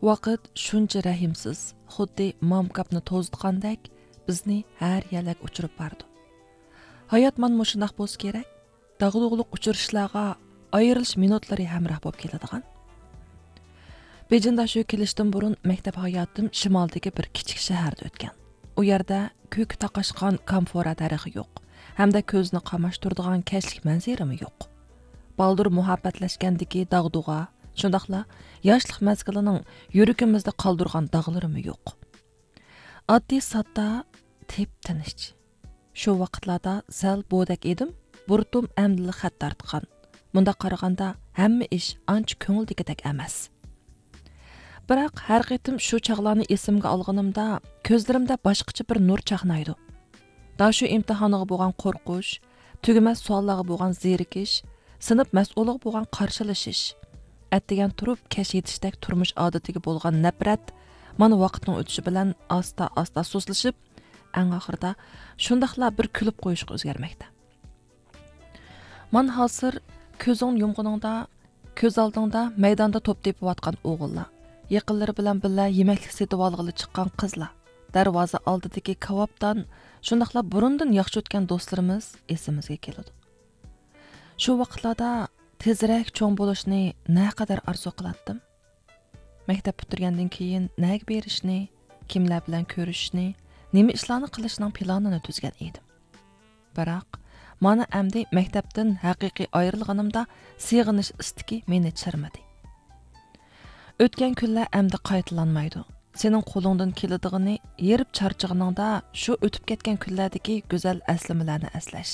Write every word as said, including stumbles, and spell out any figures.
ۋاقىت شۇنچە رەھىمسىز، خۇددى مامكاپنى توزۇتقاندەك بىزنى ھەر يەرلەرگە ئۇچۇرۇپ بارىدۇ. ھايات مانا مۇشۇنداق بولسا كېرەك، داغدۇغىلىق ئۇچرىشىشلارغا ئايرىلىش مىنۇتلىرى ھەمراھ بولۇپ كېلىدىغان. بېيجىڭدا شۇ كېلىشتىن بۇرۇن مەكتەپ ھاياتىم شىمالدىكى بىر كىچىك شەھەردە ئۆتكەن. ئۇ يەردە كۆكى تاقاشقان كامفورا دەرىخى يوق ھەمدە كۆزنى قاماشتۇرىدىغان كەچلىك مەنزىرىمۇ يوق. بالدۇر مۇھەببەتلەشكەندىكى داغدۇغا، شۇنداقلا ياشلىق مەزگىلىنىڭ يۈرىكىمىزدە قالدۇرغان داغلىرىمۇ يوق. ئاددىي ساددا، تىپ تىنچ. شۇ ۋاقىتلاردا سەل بودەك ئىدىم، بۇرۇتۇم ئەمدىلا خەت تارتقان. مۇنداق قارىغاندا ھەممە ئىش ئانچە كۆڭۈلدىكىدەك ئەمەس. بىراق ھەر قېتىم شۇ چاغلارنى ئېسىمگە ئالغىنىمدا كۆزلىرىمدە باشقىچە بىر نۇر چاقنايدۇ. داشۇ ئىمتىھانىغا بولغان قورقۇش، تۈگىمەس سوئاللارغا بولغان زېرىكىش، سىنىپ مەسئۇلىغا بولغان قارشىلىشىش، ئەتىگەن تۇرۇپ كەچ يېتىشتەك تۇرمۇش ئادىتىگە بولغان نەپرەت مانا ۋاقىتنىڭ ئۆتۈشى بىلەن ئاستا-ئاستا سۇسلىشىپ، ئەڭ ئاخىرىدا شۇنداقلا بىر كۈلۈپ قويۇشقا ئۆزگەرمەكتە. مانا ھازىر كۆزۈڭنى يۇمغىنىڭدا، كۆز ئالدىڭدا مەيداندا توپ تېپىۋاتقان ئوغۇللار، يېقىنلىرى بىلەن بىللە يېمەكلىك سېتىۋالغىلى چىققان قىزلار، دەرۋازا ئالدىدىكى كاۋاپتان، شۇنداقلا بۇرۇندىن ياخشى ئۆتكەن دوستلىرىمىز ئېسىمىزگە كېلىدۇ. شۇ ۋاقىتلاردا تېزرەك چوڭ بولۇشنى نەقەدەر ئارزۇ قىلاتتىم. مەكتەپ پۈتتۈرگەندىن كېيىن نەگە بېرىشنى، كىملەر بىلەن كۆرۈشۈشنى، نېمە ئىشلارنى قىلىشنىڭ پىلانىنى تۈزگەن ئىدىم. بىراق، مانا ئەمدى مەكتەپتىن ھەقىقىي ئايرىلغىنىمدا سېغىنىش ئىستىكى مېنى چىرمىدى. ئۆتكەن كۈنلەر ئەمدى قايتىلانمايدۇ. سېنىڭ قولۇڭدىن كېلىدىغىنى ھېرىپ چارچىغىنىڭدا شۇ ئۆتۈپ كەتكەن كۈنلەردىكى گۈزەل ئەسلىمىلەرنى ئەسلەش.